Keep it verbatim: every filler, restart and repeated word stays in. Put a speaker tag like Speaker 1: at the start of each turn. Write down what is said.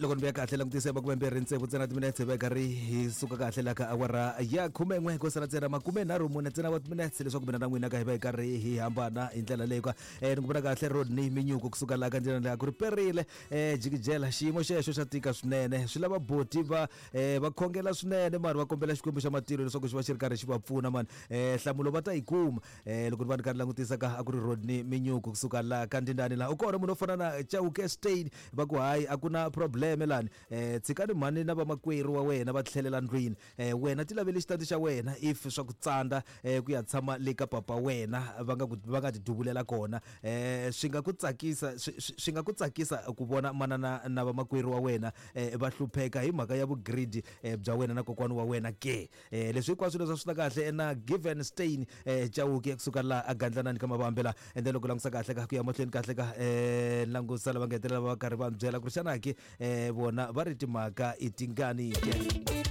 Speaker 1: Loko ni vuya kahle, langutise makume mbirhi tsevu ntsena timinetse, va karhi hi suka kahle la ka awara ya khumen'we, ko sala ntsena makume nharhu mune ntsena wa timinetse leswaku mina na n'wina ka hi va hi karhi hi hambana hi ndlela leyi ka. um ni ku vona kahle Rodney Minyuku kusuka laha ka ndlela leyi a ku ri perile. um jikijela xiyimo xexo xa tika swinene, swi lava boti va um va khongela swinene mani, va kombela Xikwembu xa matilo leswaku xi va xi ri karhi xi va pfuna mani. um nhlamulo va ta yi kuma. um loko ni va ni karhi langutisa ka a ku ri Rodney Minyuku kusuka laha ka ndindani. Laha u kona munhu wo fana na Chauke Stein, va ku hayi, a ku na problem lani. um tshikani mhani na vamakwerhu wa wena va tlhelela ndlwini. um wena ti lavele xitandi xa wena if swa ku tsandza um ku ya tshama le ka papa wena, va nga ku va nga ti duvulela kona. um swi nga ku tsakisa, swi swi nga ku tsakisa ku vona manana na vamakwerhu wa wena um va hlupheka hi mhaka ya vugridi um bya wena na kokwani wa wena ke? um leswi hinkwaswo leswi swi ta kahle na Given Stein um Chauke kusuka laha a gandlanani ka mavambe la. Ende loko langusa kahle ka ku ya mahlweni kahle ka um langusa lava nga hetelela va karhi va mi byela ku ri xana ke um vona va ri timhaka i tingani ke.